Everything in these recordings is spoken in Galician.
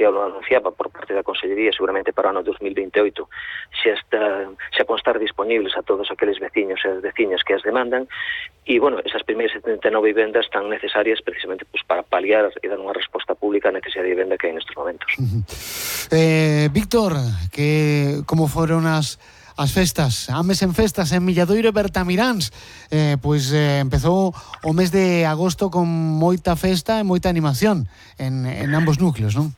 xa lo anunciaba por parte da Consellería, seguramente para o ano 2028 xa con estar disponibles a todos aqueles veciños e as veciñas que as demandan, e, bueno, esas primeiras 79 vivendas tan necesarias precisamente pues, para paliar e dar unha resposta pública á necesidade de vivenda que hai nestes momentos. Víctor, como foron as festas, Ames en festas en Milladoiro e Bertamiráns, empezou o mes de agosto con moita festa e moita animación en ambos núcleos, non?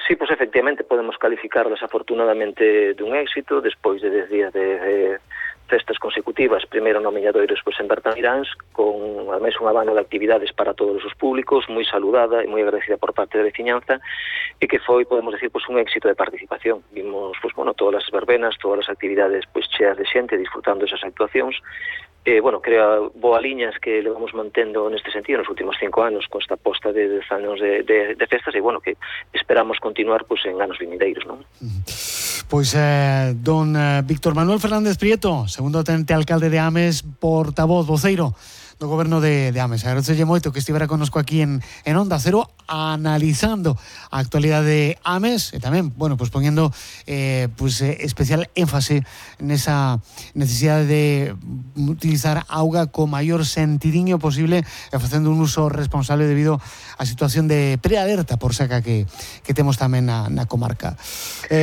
Sí, pues efectivamente podemos calificarlas afortunadamente dun éxito despois de 10 días de festas consecutivas, primeiro no Milladoiro, despois en Bertamiráns, con ademais un abano de actividades para todos os públicos, moi saludada e moi agradecida por parte da veciñanza, e que foi, podemos decir, pues, un éxito de participación. Vimos, pues, bueno, todas as verbenas, todas as actividades pues, cheas de xente, disfrutando esas actuacións. Creo boa liñas que levamos mantendo neste sentido nos últimos 5 anos con esta aposta de 10 anos de festas e, bueno, que esperamos continuar pues, en anos vindeiros, non? Pois don Víctor Manuel Fernández Prieto, segundo tenente alcalde de Ames, portavoz, voceiro do goberno de Ames. Agradecelle moito que estivera connosco aquí en Onda Cero analizando a actualidade de Ames e tamén, bueno, pues poniendo especial énfase nesa necesidade de utilizar auga co maior sentidiño posible e facendo un uso responsable debido á situación de prealerta por seca que temos tamén na comarca.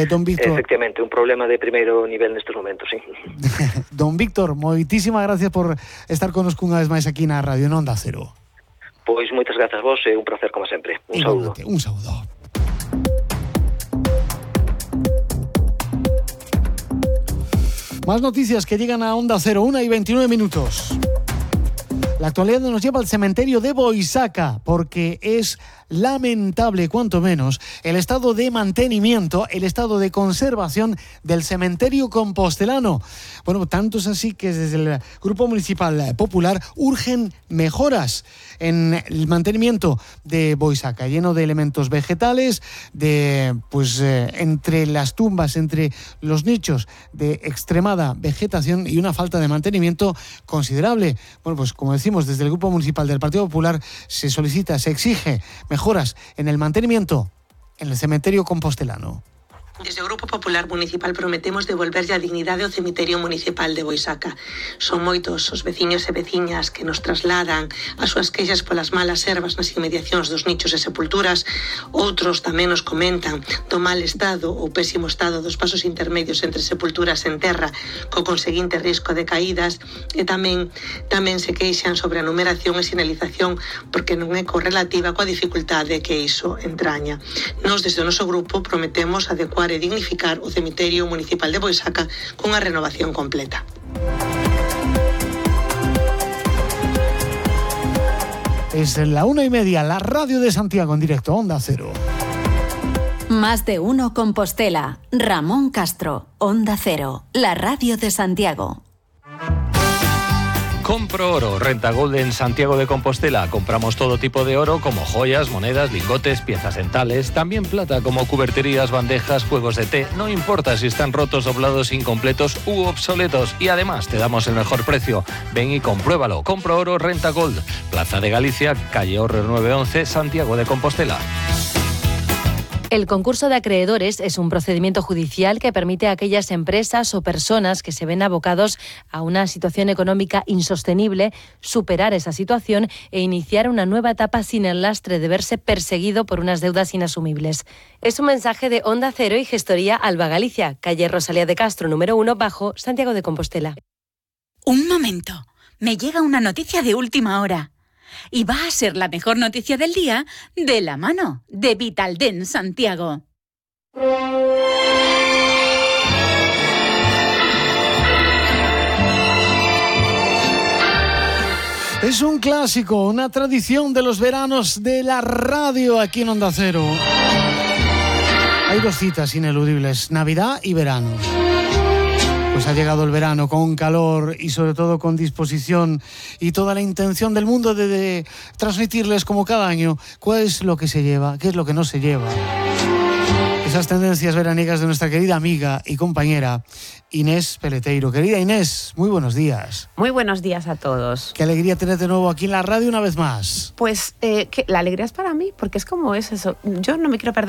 Don Víctor... Efectivamente, un problema de primeiro nivel nestes momentos, sí. Don Víctor, moitísimas gracias por estar connosco unha vez máis aquí na Radio en Onda Cero. Pois moitas grazas vos e un placer como sempre. Un saúdo. Un saúdo. Más noticias que llegan a Onda Cero, 1:29 minutos. La actualidad nos lleva al cementerio de Boisaca porque es lamentable, cuanto menos, el estado de mantenimiento, el estado de conservación del cementerio compostelano. Bueno, tanto es así que desde el Grupo Municipal Popular urgen mejoras en el mantenimiento de Boisaca, lleno de elementos vegetales, entre las tumbas, entre los nichos de extremada vegetación y una falta de mantenimiento considerable. Bueno, pues como decimos, desde el Grupo Municipal del Partido Popular se solicita, se exige mejoras en el mantenimiento en el cementerio compostelano. Desde o Grupo Popular Municipal prometemos devolverlle a dignidade ao cemiterio municipal de Boisaca. Son moitos os veciños e veciñas que nos trasladan as súas queixas polas malas ervas nas inmediacións dos nichos e sepulturas. Outros tamén nos comentan do mal estado ou pésimo estado dos pasos intermedios entre sepulturas en terra, co conseguinte risco de caídas, e tamén se queixan sobre a numeración e sinalización porque non é correlativa coa dificultade que iso entraña. Nos, desde o noso grupo, prometemos adecuar e dignificar o cemiterio municipal de Boisaca cunha renovación completa. Es la 1:30, la radio de Santiago en directo, Onda Cero. Más de uno Compostela. Ramón Castro, Onda Cero, la radio de Santiago. Compro Oro, Renta Gold en Santiago de Compostela. Compramos todo tipo de oro como joyas, monedas, lingotes, piezas dentales, también plata como cuberterías, bandejas, juegos de té. No importa si están rotos, doblados, incompletos u obsoletos. Y además te damos el mejor precio. Ven y compruébalo. Compro Oro, Renta Gold. Plaza de Galicia, calle Horrer 911, Santiago de Compostela. El concurso de acreedores es un procedimiento judicial que permite a aquellas empresas o personas que se ven abocados a una situación económica insostenible superar esa situación e iniciar una nueva etapa sin el lastre de verse perseguido por unas deudas inasumibles. Es un mensaje de Onda Cero y Gestoría Alba Galicia, calle Rosalía de Castro, número 1, bajo, Santiago de Compostela. Un momento, me llega una noticia de última hora. Y va a ser la mejor noticia del día de la mano de Vitaldent Santiago. Es un clásico, una tradición de los veranos de la radio aquí en Onda Cero. Hay dos citas ineludibles, Navidad y verano. Pues ha llegado el verano con calor y sobre todo con disposición y toda la intención del mundo de transmitirles como cada año cuál es lo que se lleva, qué es lo que no se lleva. Esas tendencias veraniegas de nuestra querida amiga y compañera Inés Peleteiro. Querida Inés, muy buenos días. Muy buenos días a todos. Qué alegría tenerte de nuevo aquí en la radio una vez más. Pues la alegría es para mí, porque es como es eso. Yo no me quiero perder